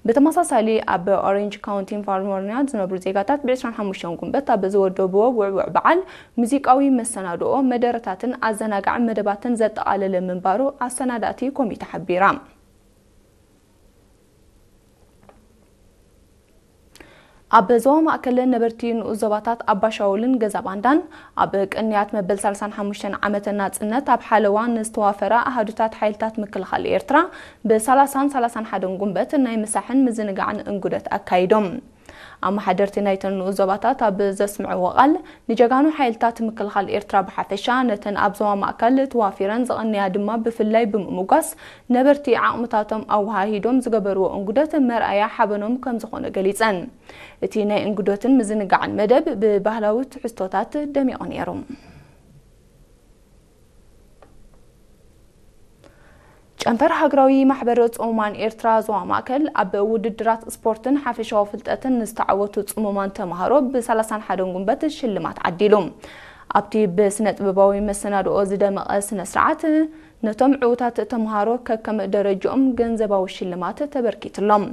ብተመሳሳሊ ኣብ ኦሬንጅ ካውንቲ ካሊፎርኒያ ዝነብሩ ዜጋታት ብ ዕስራን ሓሙሽተን ጉንበት ኣብ ዝወደብዎ ውዕውዕ በዓል ሙዚቃዊ መሰናድኦ፣ መደረታትን ኣዘናጋዒ መደባትን ዘጠቓለለ ምንባሩ ኣሰናዳእቲ ኮሚተ ሓቢራ። ኣብ ዞባ ማእከል ነበርቲ ንኡስ ዞባታት ኣባሻውልን ገዛ ባንዳን ኣብ ቅንያት መበል ሰላሳን ሓሙሽተን ዓመተ ናጽነት ኣብ ሓለዋ ንዝተዋፈራ ኣሃዱታት ሓይልታት ምክልኻል ኤርትራ ብ ሰላሳን ሰላሳን ሓደን ጉንበት ናይ ምሳሕን ምዝንጋዕን እንጉደት ኣካይዶም። ኣመሓደርቲ ናይተን ንኡስ ዞባታት ኣብ ዘስምዕዎ ቃል፣ ንጀጋኑ ሓይልታት ምክልኻል ኤርትራ ብሓፈሻ፣ ነተን ኣብ ዞባ ማእከል ተዋፊረን ዝቐንያ ድማ ብፍላይ ብምምጓስ፣ ነበርቲ ዓቕምታቶም ኣወሃሂዶም ዝገበርዎ እንጉደት መርኣያ ሓበኖም ከም ዝኾነ ገሊጸን። እቲ ናይ እንጉደትን ምዝንጋዕን መደብ ብባህላዊ ትሕዝቶታት ደሚቑ ነይሩ። ጨንፈር ሃገራዊ ማሕበር ጽሙማን ኤርትራ ዞባ ማእከል ኣብ ውድድራት ስፖርትን ሓፈሻዊ ፍልጠትን ንዝተዓወቱ ጽሙማን ተምሃሮ ብ ሰላሳን ሓደን ጉንበት ሽልማት ዓዲሉ። ኣብቲ ብስነ ጥበባዊ መሰናድኦ ዝደመቐ ስነ ስርዓት፣ ነቶም ዕዉታት ተምሃሮ ከከም ደረጅኦም ገንዘባዊ ሽልማት ተበርኪትሎም።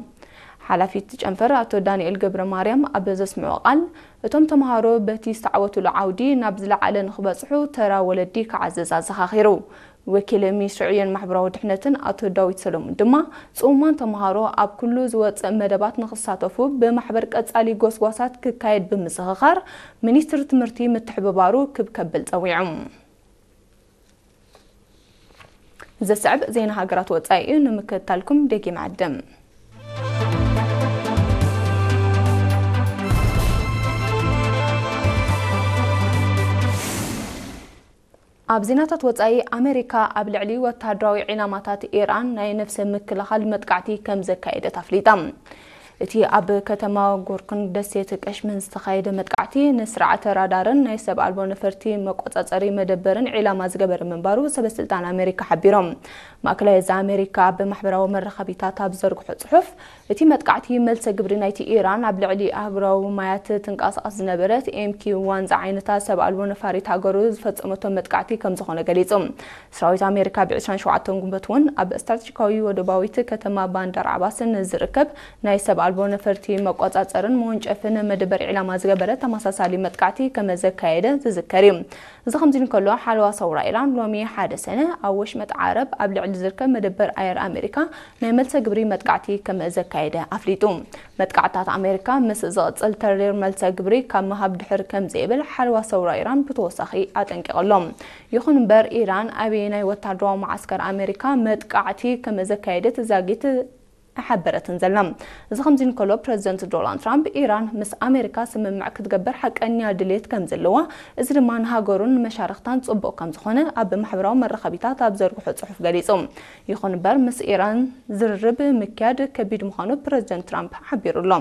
ሓላፊ እቲ ጨንፈር ኣቶ ዳንኤል ገብረ ማርያም ኣብ ዘስምዖ ቃል፣ እቶም ተምሃሮ በቲ ዝተዓወትሉ ዓውዲ ናብ ዝለዓለ ንክበጽሑ ተራ ወለዲ ክዓዝዝ ኣዘኻኺሩ። ወኪል ሚኒስትሪ ዕዮን ማሕበራዊ ድሕነትን ኣቶ ዳዊት ሰሎሙን ድማ፣ ጽሙማን ተምሃሮ ኣብ ኩሉ ዝወጽእ መደባት ንክሳተፉ ብማሕበር ቀጻሊ ጎስጓሳት ክካየድ ብምዝኽኻር፣ ሚኒስትሪ ትምህርቲ ምትሕብባሩ ክብ ከብል ጸዊዑ። ዘስዕብ ዜና ሃገራት ወጻኢ እዩ፣ ንምክትታልኩም ደጊም ዓድም። ኣብ ዜናታት ወጻኢ፣ ኣሜሪካ ኣብ ልዕሊ ወተሃደራዊ ዒላማታት ኢራን ናይ ነፍሰ ምክልኻል መጥቃዕቲ ከም ዘካየደት ኣፍሊጣ። እቲ ኣብ ከተማ ጎርክን ደሴት ቀሽመን ዝተኻየደ መጥቃዕቲ፣ ንስርዓተ ራዳርን ናይ ሰብ ኣልቦ ነፈርቲ መቆጻጸሪ መደበርን ዒላማ ዝገበረ ምንባሩ ሰበስልጣን ኣሜሪካ ሓቢሮም። ማእከላይ እዚ ኣሜሪካ ኣብ ማሕበራዊ መራኸቢታት ኣብ ዘርግሖ ጽሑፍ፣ እቲ መጥቃዕቲ መልሰ ግብሪ ናይቲ ኢራን ኣብ ልዕሊ ኣህጉራዊ ማያት ትንቀሳቐስ ዝነበረት ኤም ኪው ዋን ዝዓይነታ ሰብ ኣልቦ ነፋሪት ሃገሩ ዝፈጸመቶ መጥቃዕቲ ከም ዝኾነ ገሊጹ። ሰራዊት ኣሜሪካ ብ ዕስራን ሸውዓተን ጉንበት እውን ኣብ ስትራቴጂካዊ ወደባዊት ከተማ ባንዳር ዓባስ ንዝርከብ ናይ ሰብ ኣልቦ ነፈርቲ መቆጻጸርን መወንጨፍን መደበር ዒላማ ዝገበረ ተመሳሳሊ መጥቃዕቲ ከም ዘካየደ ዝዝከር እዩ። እዚ ከምዚ እንከሎ፣ ሓለዋ ሰውራ ኢራን ሎሚ ሓደ ሰነ ኣብ ወሽመጥ ዓረብ ኣብ ልዕሊ ዝርከብ መደበር ኣየር ኣሜሪካ ናይ መልሰ ግብሪ መጥቃዕቲ ከም ዘካየደ ኣፍሊጡ። መጥቃዕትታት ኣሜሪካ ምስ ዝቕጽል፣ ተሪር መልሰ ግብሪ ካብ ምሃብ ድሕር ከም ዘይብል ሓለዋ ሰውራ ኢራን ብተወሳኺ ኣጠንቂቑ ኣሎ። ይኹን እምበር፣ ኢራን ኣበየናይ ወታደራዊ መዓስከር ኣሜሪካ መጥቃዕቲ ከም ዘካየደት ዛጊት ኣይሓበረትን ዘላ። እዚ ከምዚ እንከሎ፣ ፕረዚደንት ዶናልድ ትራምፕ፣ ኢራን ምስ ኣሜሪካ ስምምዕ ክትገብር ሓቀኛ ድሌት ከም ዘለዋ፣ እዚ ድማ ንሃገሩን ንመሻርኽታን ጽቡቕ ከም ዝኾነ ኣብ ማሕበራዊ መራኸቢታት ኣብ ዘርግሖ ጽሑፍ ገሊጹ። ይኹን እምበር፣ ምስ ኢራን ዝርርብ ምክያድ ከቢድ ምዃኑ ፕረዚደንት ትራምፕ ሓቢሩ ኣሎ።